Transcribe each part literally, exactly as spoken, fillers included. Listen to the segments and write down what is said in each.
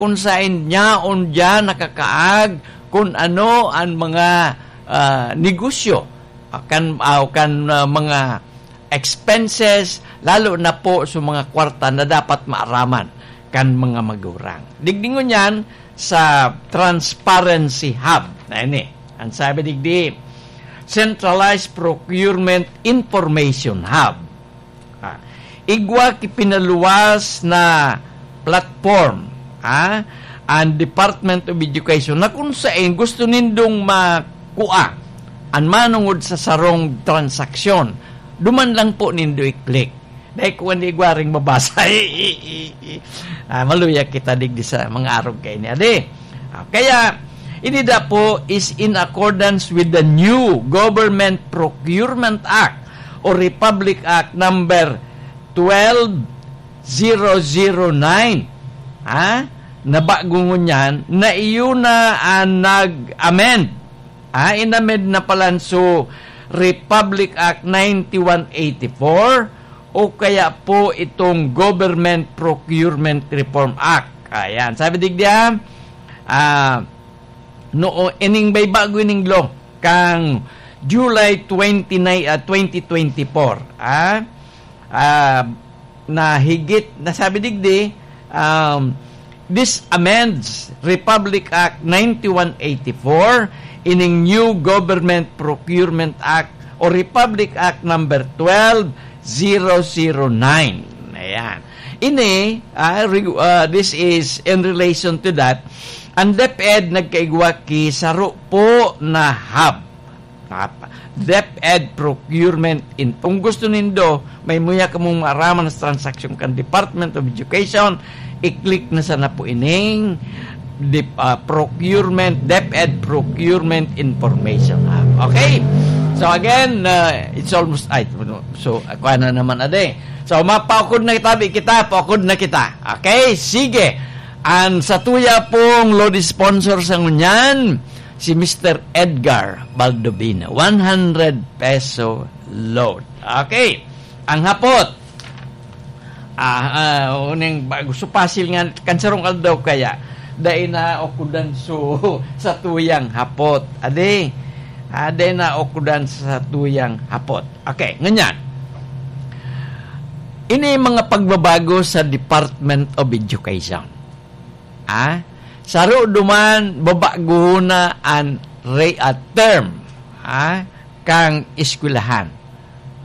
kung saen niya, on diyan nakakaag, kung ano ang mga, ah, negosyo, ah, kan, ah, kan, ah, mga expenses, lalo na po sa mga kwarta na dapat maaraman kan mga magurang. Digdi ngunyan sa Transparency Hub. Na ini, ang sabi digdi, Centralized Procurement Information Hub. Ah, igwa ki pinaluwas na platform, ah, ang Department of Education na kung saen gusto nindong makua an manongod sa sarong transaksyon, duman lang po nindo i-click. Dahil kung hindi igwa ring mabasa, ah, maluya kita digdi sa mga arog kaini, adi. Ah, kaya, ini da po is in accordance with the new Government Procurement Act o Republic Act number twelve zero zero nine. Ha? Nabago ngunyan na iyo na ang nag-amend. Ah, inamend na palan so Republic Act ninety-one eighty-four o kaya po itong Government Procurement Reform Act. Ayan, sabi digdi, ah, ah, noo, ining may bago ining law kang July twenty-nine, ah, twenty twenty-four, ah, ah, na higit, na sabi digdi, um, this amends Republic Act ninety-one eighty-four, ining new Government Procurement Act o Republic Act number twelve zero zero nine. Ayan. Ini, ah, re-, ah, this is in relation to that. Ang DepEd nagkaigwa ki saro po na hub. Napa-, DepEd Procurement In-, kung gusto nindo, may muya kamong maaraman sa transaksyon kan Department of Education, i-click na sana po ining dep-, ah, procurement, DepEd Procurement Information Hub. Okay? So again, uh, it's almost, ay, so, ako na naman, ade. So, mapaukod na kita, bi kita, paukod na kita. Okay? Sige. Ang satuya pong load sponsor sa ngunyan, si Mister Edgar Baldovino. One hundred peso load. Okay. Ang hapot. Ah, ah, uning ba-, gusto pasil nga, kan sarong aldaw kaya, dai na okudan so satuyang hapot. Ade, ah, dai na okudan sa satuyang hapot. Okay, ngunyan. Ini mga pagbabago sa Department of Education. Ah, saro duman, babago na an re-, ah, term, ah, kang eskwelahan.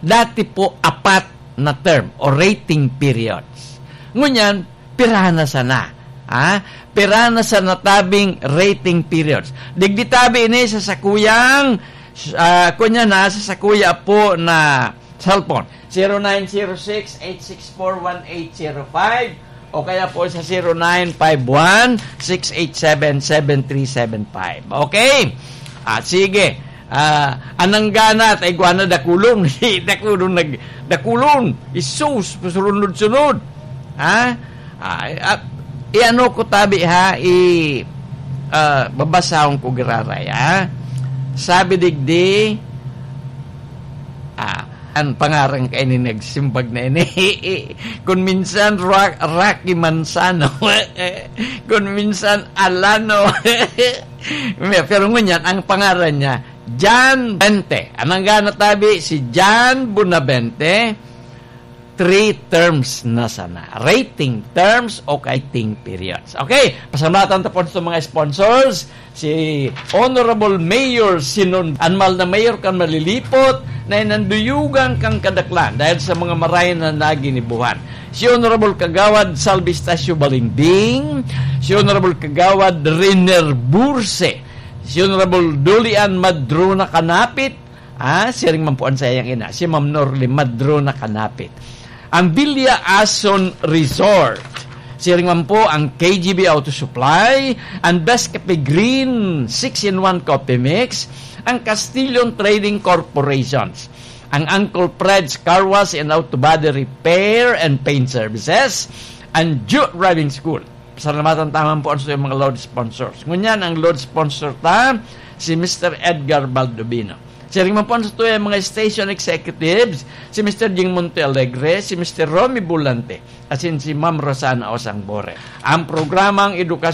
Dati po, apat na term o rating periods. Ngunyan, pira na sana? Ah, pira na sana tabing rating periods? Digdi tabi ini sa sakuyang, ah, kunya na sa sakuya po na cellphone, zero nine zero six, eight six four, one eight zero five, o kaya po sa zero nine five one, six eight seven, seven three seven five. Okay? Ah, sige. Ah, anang gana, tayo na dakulon. Dakulon, nag-, dakulon. Isus, pasurunod-sunod. Ha? Ah, ah, iano ko tabi, ha? I, ah, babasahon ko giraray, ha? Sabi digdi, ah, ang pangaran kaini nagsimbag na ini. Kung minsan Ra-, Rocky Manzano, kung minsan Alano. Pero ngunyan, ang pangaran niya, John Bente. Anang gana tabi, si John Bonavente, three terms na sana. Rating terms o rating periods. Okay, pasalamatan ta po sa mga sponsors. Si Honorable Mayor Sinon, an mahal na mayor kan Malilipot, na inanduyugan kan kadaklan dahil sa mga marahay na naginibuhan. Si Honorable Kagawad Salvi Estacio Balingbing, si Honorable Kagawad Riner Burse, si Honorable Dolian Madrona Kanapit, ah, siring man po ang sayang ina, si Ma'am Norly Madrona Kanapit. Ang Villa Ason Resort, siring man po ang K G B Auto Supply, ang Best Cafe Green six-in-one Coffee Mix, ang Castillon Trading Corporations, ang Uncle Fred's Car Wash and Auto Body Repair and Paint Services, ang Ju Driving School. Pasalamatan ta man po ang mga load sponsors. Ngunyan, ang load sponsor ta, si Mister Edgar Baldovino. Siring man po ang satuyang mga station executives, si Mister Jing Monte Alegre, si Mister Romy Bulante, asin si Ma'am Rosana Osangbore. Ang programang Edukasyon